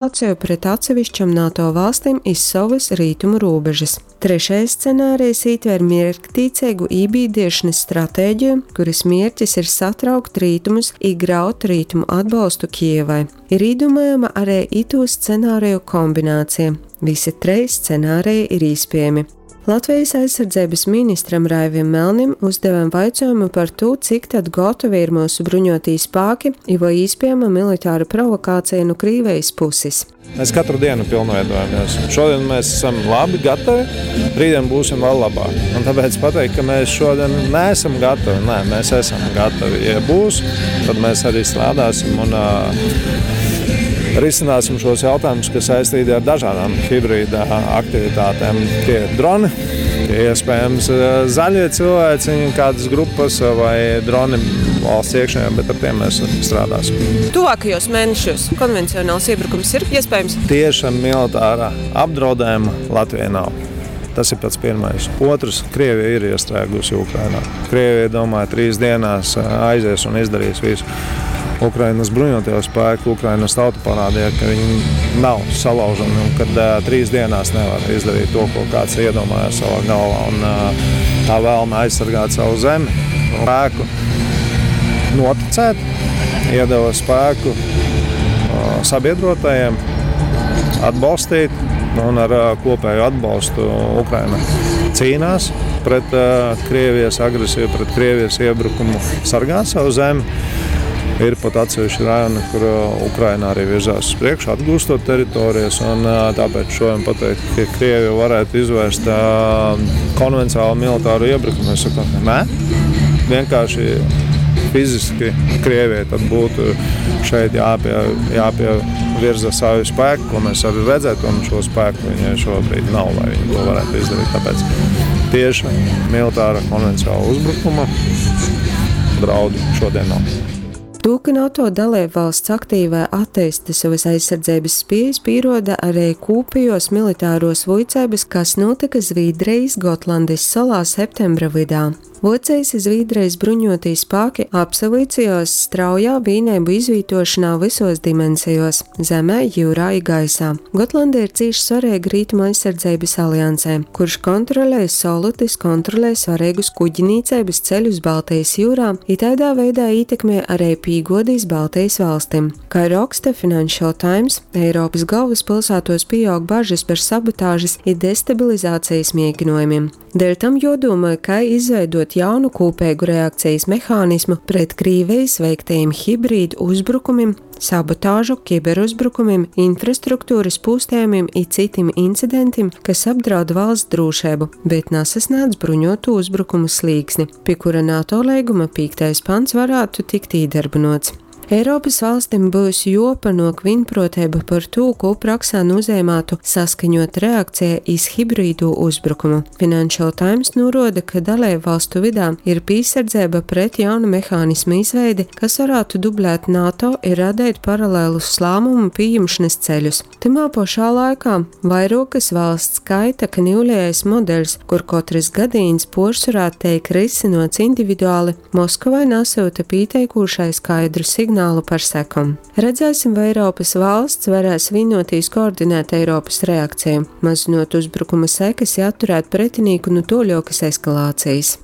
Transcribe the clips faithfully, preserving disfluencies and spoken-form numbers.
Pret atsevišķom NATO valstim iz sovys rītumu rūbežys. Trešais scenārijs ītver mierktīceigu ībīdiešonys stratēģiju, kurys mierķis ir satraukt rītumus i graut rītumu atbolstu Kijevai. Ir īdūmojama ari itūs scenāriju kombinācija. Visi treis scenāriji ir īspiejami. Latvijas aizsardzeibys ministram Raivim Melnim uzdevem vaicuojumu par tū, cik tad gotovi ir myusu bruņuotī spāki i voi īspiejama militāra provokācija nu Krīvejis pusis. Mēs katru dienu pilnveidojamies. Šodien mēs esam labi gatavi, rītdien būsim vēl labāk. Un tāpēc pateikt, ka mēs šodien neesam gatavi, nē, mēs esam gatavi. Ja būs, tad mēs arī strādāsim un uh, risināsim šos jautājumus, kas saistīti ar dažādām hibrīda aktivitātēm. Tie ir droni, tie iespējams zaļie cilvēciņi, kādas grupas vai droni valsts iekšienē, bet ar tiem mēs strādāsim. Tuvākajos mēnešos konvencionāls iebrukums ir iespējams? Tieša militārā apdraudējuma Latvijai nav. Tas ir pats pirmais. Otrs, Krievija ir iestrēgusi Ukrainā. Krievija, domāju, trīs dienās aizies un izdarīs visu. Ukrainas bruņotie spēki, Ukrainas tauta parādīja, ka viņi nav salaužami un kad uh, trīs dienās nevar izdarīt to, ko kāds iedomājās savā galvā. Un, uh, tā vēlme aizsargāt savu zemi, spēku noticēt, iedeva spēku uh, sabiedrotajiem, atbalstīt un ar uh, kopēju atbalstu Ukraina cīnās pret uh, Krievijas agresiju, pret Krievijas iebrukumu, sargāt savu zemi. Ir pat atsevišķi rajoni, kur Ukraina arī virzās uz priekšu, atgūstot teritorijas. Un, tāpēc šodien pateikt, ka Krievija varētu izvērst konvencionālu militāru iebrukumu, es saku, nē. Vienkārši fiziski Krievijai tad būtu šeit jāpie, jāpievirza savi spēki, ko mēs arī redzētu, un šo spēku viņai šobrīd nav, lai viņi to varētu izdarīt. Tāpēc tieši militāra konvencionāla uzbrukuma draudu šodien nav. To, ka NATO dalību valsts aktīvai attīsta savas aizsardzeibys spiejas, pīroda arī kūpejos militāros vuiceibys, kas nūtyka Zvīdrejis Gotlandis solā septembra vydā. Vuocejis i Zvīdrejis bruņuotī spāki apsavuicejuos straujā vīneibu izvītuošonā vysuos dimensejuos – zemē, jiurā i gaisā. Gotlande ir cīši svareiga Rītumu aizsardzeibys aliansē, kurš kontrolej solu, tys kontrolej svareigus kuģnīceibys ceļus Baltejis jiurā i taidā veidā ītekmej ari pīguodi iz Baltejis valstim. Kai roksta Financial Times, Eiropys galvyspylsātuos pīaug bažys par sabotažys i destabilizacejis mieginuojumim. Deļ tam juodūmoj, kai izveiduot jaunu kūpeigu reakcejis mehānismu pret Krīvejis veiktajim hibrīdu uzbrukumim, sabotažu, kiberuzbrukumim, infrastruktūrys pūstejumim i cytim incidentim, kas apdraud valsts drūšeibu, bet nasasnādz bruņuotu uzbrukumu slīksni, pi kura NATO leiguma pīktais pants varātu tikt īdarbynuots. Eiropys valstim byus juopanuok vīnpruoteiba par tū, kū praksā nūzeimātu saskaņuota reakceja iz hibrīdū uzbrukumu. Financial Times nūruoda, ka daleibu valstu vydā ir pīsardzeiba pret jauna mehānisma izveidi, kas varātu dublēt NATO i radeit paralelus lāmumu pījimšonys ceļus. Tymā pošā laikā vairuokys valsts skaita, ka niulejais modeļs, kur kotrys gadīņs puorsvorā teik rysynuots individuali, Moskovai nasyuta pīteikūšai skaidru signālu par sekom. Redzēsim, vai Eiropys valsts varēs vīnuotīs koordinēt Eiropys reakciju, mazynot uzbrukuma sekas i atturēt pretinīku nu tuoļuokys eskalācejis.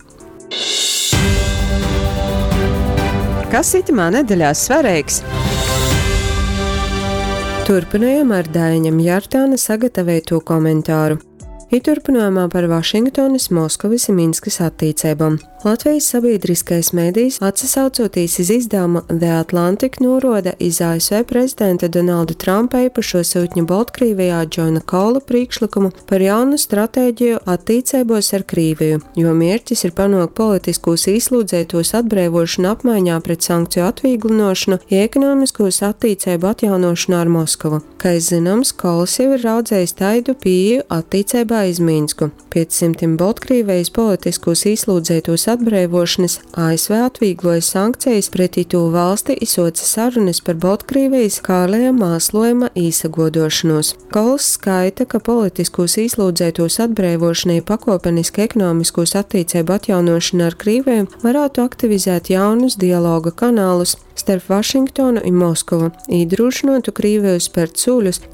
Kas itymā nedeļā svareigs? Turpynojam ar Daiņa Mjartāna sagataveitū komentāru. I turpynojumā par Vašingtonys, Moskovys i Minskys attīceibom. Latvejis sabīdriskais medijs, atsasaucūtīs iz izdavumu The Atlantic, nūruoda iz A S V prezidenta Donalda Trumpa eipašuo syutņa Boltkrīvejā Džona Kola prīkšlykumu par jaunu stratēģiju attīceibuos ar Krīviju, jo mierķis ir panuokt politiskūs īslūdzeitūs atbreivuošonu apmaiņā pret sankciju atvīglynuošonu i ekonomiskūs attīceibu atjaunuošonu ar Moskovu. Kai zynoms, Kols jau ir raudzejs taidu pīeju attīceibās vierzeibā iz Minsku. Piec symtim Boltkrīvejis politiskūs īslūdzeitūs atbreivuošonys A S V atvīgluoja sankcejis pret itū valsti i suoce sarunys par Boltkrīvejis kaleja māsluojuma īsaguoduošonūs. Kols skaita, ka politiskūs īslūdzeitūs atbreivuošona i pakuopeniska ekonomiskūs attīceibu atjaunuošona ar Krīveju varātu aktivizēt jaunus dialoga kanalus starp Vašingtonu i Moskovu, īdrūšynuotu Krīveju spert sūļus.